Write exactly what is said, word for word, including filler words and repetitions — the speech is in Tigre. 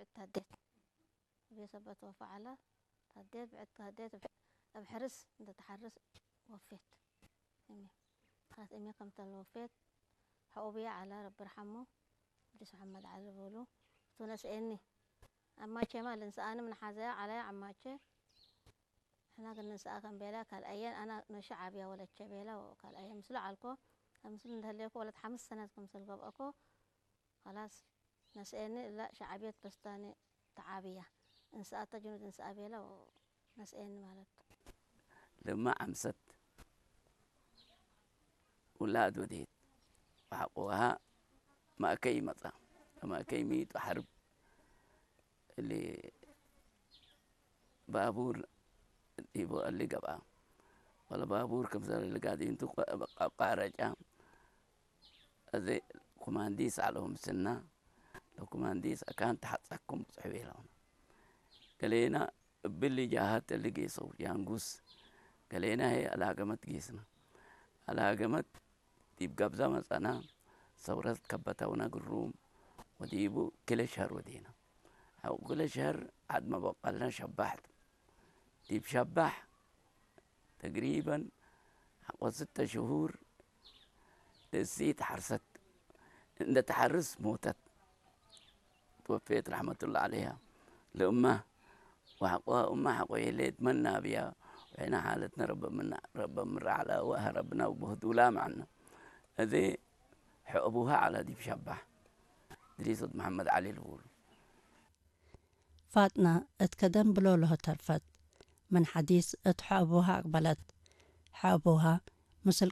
ብዕድ ተህዴት። እቤ ሰበት ወፈ ዐለ። ተህዴት፣ ብዕድ ተህዴት፣ እብ፣ እብ ሕርስ እንዴ ተሐርስ ወፌት። እሜ። ሐት እሜ ክምተ ለወፌት፣ ሐኡብየ ዐለ፣ ረቢ ርሐሙ፣ እድሪስ መሐመድ ዐሊ ልቡሉ፣ እቱ ነስኤኒ። አማቼማ ልንስአኒ ምን ሐዘያ ዐለየ ዐማቼ። ሕና ግን ንስአ ከም ቤለ፣ ካልአየን አነ ኖሸ ዐብያ ወለቼ ቤለ፣ ወካልአየ ምስሉ ዐልኮ። ምስሉ እንዴ ህሌኮ ወለት ሐምስ ሰነት ክምስል ገብአኮ። ከላስ ነስኤኒ እለ ሸዐብየት በስታኒ ተዓብያ። እንስአተ ጅኑድ እንስአ ቤለ ወነስኤኒ ማለት ቱ። ለማ ዐምሰት ውላድ ወዴት ወሐቆሃ ማእከይ መጽአ። ማእከይ ሚጡ ሐርብ እሊ ባቡር ዲቡ እሊ ገብአ። ወለ ባቡር ክምሰል እሊ ጋድዩንቱ አቋረጫ። አዜ ኩማንዲስ ዐለው ምስልና፣ ለኩማንዲስ አካን ተሐጸኩም ብጽሑ ቤለውነ። ገሌና እብሊ ጃሀት እሊ ጌሰው ጃንጉስ፣ ገሌና ህዬ አልሀገመት ጌስነ። አልሀገመት ዲብ ገብዛ መጸና፣ ሰውረት ከበተውነ ግሩም፣ ወዲቡ ክለ ሸህር ወዴነ። ሐቆ ክለ ሸህር ዐድ መበቀልነ ሸባሕ ቱ። ዲብ ሸባሕ ተግሪበን ሐቆ ስተ ሽሁር እሲት ሐርሰት፣ እንደ ተሐርስ ሞተት። ትወፌት ረሕመቱላህ ዐለይሃ። ለእመ ወሐቆ እመ ሐቆ የሌት መና ብያ፣ ወሕነ ሓለትነ ረበ ምና፣ ረበ ምራ ዐለ ወሀረብነ ወበህዱላ መዐነ። እዜ ሐ አቡሃ ዐለ ዲብ ሸባሕ፣ እድሪስ ወድ መሐመድ ዐሊ ልቡሉ። ፋጥነ እት ከደም ብሎሎህ ተርፈት። ምን ሐዲስ እት ሐ አቡሃ አቅበለት። ሐ አቡሃ ምስል